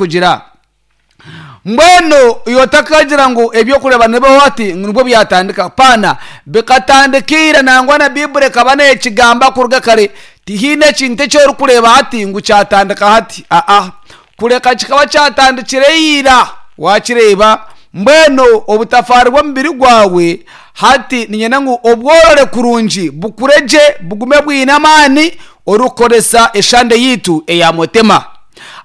Kugira. Mbwenu iwe otakagira ngu eby'okureeba nibibaho hati ngu nibwo byatandika. Paana, bikatandika ira nangwa na Baiburi ekaba neekigamba kuruga kare. Tihaine ekintu eki orikureeba hati ngu kyatandika hati. Aa, kureka kikaba kyatandikire ira. Waakireeba? Mbwenu obutafaari bw'omubiri gwawe hati niinyenda ngu obworore kurungi, bukure gye, bugume bwine amaani orikukoresa eshande yaitu eya Mutema.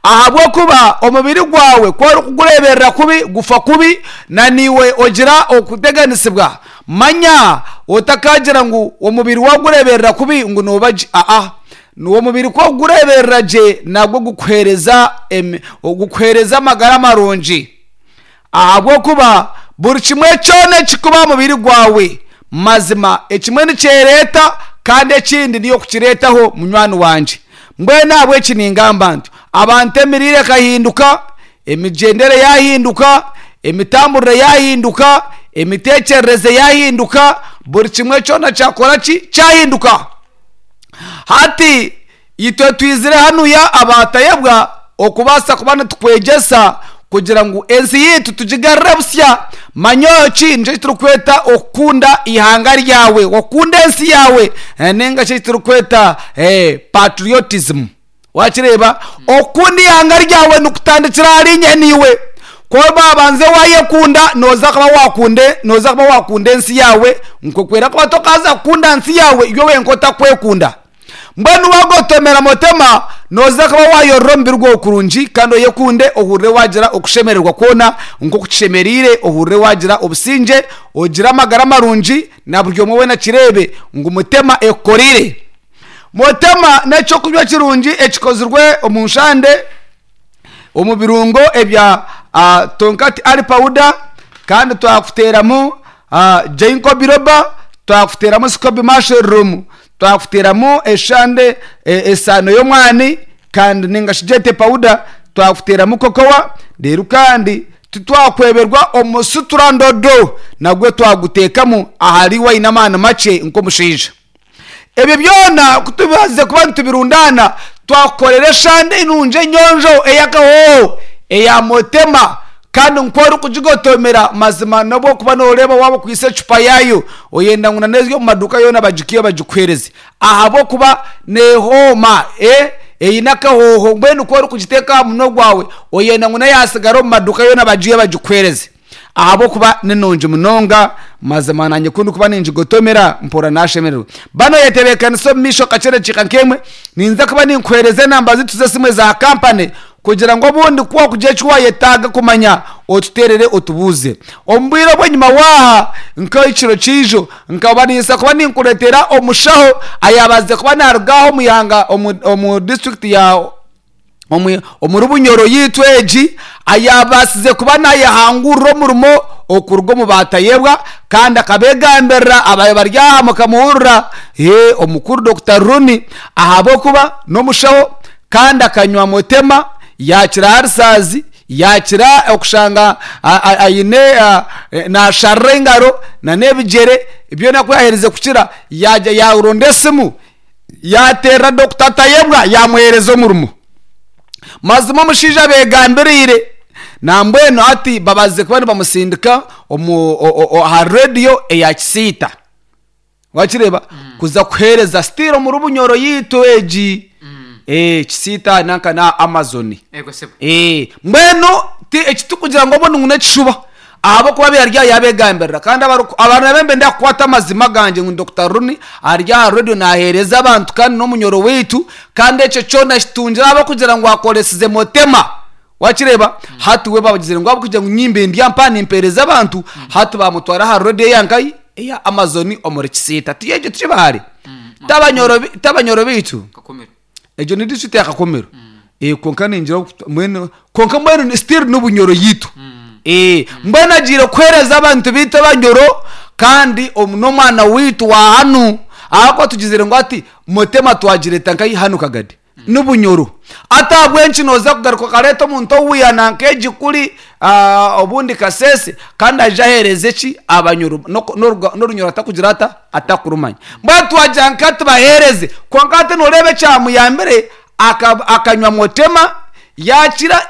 Ahabw'okuba omubiri gwawe ku orikugureeberera kubi, gufa kubi, na naiwe ogira okuteganisibwa. Manya otakaagira ngu omubiri waagureeberera kubi ngu nooba gye. Aa, omubiri ku orikugureeberera gye nagwo gukuheereza gukuheereza amagara marungi. Ahabw'okuba buri kimwe kyona ekirikuba aha mubiri gwawe, mazima ekimwe nikyereeta kandi ekindi niiwe orikukireetaho munywani wangye. Mbwenu ahabw'eki ningamba nti, abantu emiriire ekahinduka, emigyendere yaahinduka, emitamburire yaahinduka, emiteekyerereze yaahinduka, buri kimwe kyona kyakora ki? Kyahinduka. Hati Itwe twizire hanuya abaatayebwa okubaasa kuba nitukwegyesa kugira ngu ensi yaitu tugigarure busya. Manya eki nikyo eki turikweta okukunda eihanga ryawe, okukunda ensi yaawe ninga shi eki turikweta patriotism. Wakireeba? Okukunda eihanga ryawe nikutandikira ahari inye naiwe. Ku oraabanze waayekunda, nooza kuba waakunda nooza kuba waakunda ensi yaawe, nk'oku erakuba tokaaza kukunda nsi yaawe iwe wenka otakwekunda. Mbwenu waagotomera Mutema, nooza kuba waayorora omubiri gwawe kurungi kandi oyekunde, ohurire waagira okushemererwa kwona nk'oku kishemereire, ohurire waagira obusingye, ogire amagara marungi, na buri omwe weena akireebe ngu Mutema ekukoreire. Mutema n'eky'okunywa kirungi ekikozirwe omu nshande. omu birungo ebya Tonkat Ali Powder kandi twakuteeramu Ginkgo Biloba, twakuteeramu Scoby Mushroom, twakuteeramu eshande esaano y'omwani kandi ninga shi gyete powder, twakuteeramu cocoa reero kandi titwakweberwa omusutura ndodo nagwo twaguteekamu ahari waine amaani makye nk'omushaija. Ebyo byona ku tubaasize kuba nitubirundaana, twakukorera eshande nungi enyonjo ey'akahooho eya Motema kandi nk'oku orikugigotomera mazima n'obu orikuba nooreeba waaba okwaitse ecupa yaayo oyenda ngu n'eziri omu maduuka yoona bagikwihe bagikuheereze ahabw'okuba neehooma eine akahooho mbwenu ku orikugiteeka aha munwa gwawe oyenda ngu n'eyaatsigara omu maduuka yoona bagiihe bagikuheereze. Ahabw'okuba ni nungi munonga, mazima naanye ku ndikuba ningigotomera, mpurira naashemererwa. Ba nooyetebeekanisa omu maisho kakye edakiika nk'emwe, ninza kuba ninkuheereza enamba zaitu z'esimu eza kampani kugira ngu obundi ku waakugira eki waayetaaga kumanya otuteerere otubuuze. Omu bwire obw'enyima waaha nk'ekiro kyaijo, nkaba ninsa kuba ninkureetera omushaho ayaabaasize kuba naaruga aha omu ihanga omu disiturikiti ya. Omuri Bunyoro yaitu egi ayaabaasize kuba naayehangurira omurimo okuruga omu baatayebwa kandi akabeegambirira abaabaire bari aha mukamuhurira omukuru Dokita Rooney ahabw'okuba n'omushaho kandi akanywa mutema yaakira arisaazi yaakira okushanga aine naasharira engaro nana ebigyere byona ku yaaherize kukira yaagira yaaronda esimu Yaateerera Dokita Tayebwa yaamuheereza omurimo. Mazima omushaija abeegambiriire. Nambwenu hati babazize kuba nibamusindika omu aha rediyo eya Kisiita. Wakireeba? Kuza kuheereza still omuri Bunyoro yaitu egi. Kisiita nanka n'aha Amazon. Ego sebo. Mbwenu ti eki tikugira ngu obundi ngu n'ekishuba. Ahabw'okuba abaire ari aha yaabegambirira kandi abantu nabo nibenda kukwata amazima gangye ngu Dokita Rooney ari aha radio naaheereza abantu kandi n'omunyoro waitu kandi ekyo kyona kitungire ahabw'okugira ngu akoresize Motema. Wakireeba? Hati we bagizire ngu ahabw'okugira ngu nyimbe ndi aha mpaha nimpeereza abantu, hati baamutwara aha radio eya nkahi? Eya Amazon omuri Kisiita. Ti egyo tikibahare? T'abanyoro baitu? Kakumiro. Egyo ni district ya Kakomero. Eh, kwonka ningira oku- mbwenu kwonka mbwenu ni- still ni Bunyoro yitu. Eh, mbwenu agiire kuheereza abantu baitu Abanyoro kandi omu n'omwana waitu wa hanu ahakuba tugizire ngu hati Mutema twagireeta nkahi hanu Kagadi. Ni Bunyoro. Hati ahabw'enki nooza kugaruka okareeta omuntu owiiha nanka egi kuri ah, obundi Kasese kandi aije aheereze ki Abanyoro n'oku- n'oruga- n'Orunyoro atakugira ata? Atakurumanya. Mbwenu twagira nka tubaheereze kwonka hati nooreeba ekyamuyambire akanywa motema yaakira.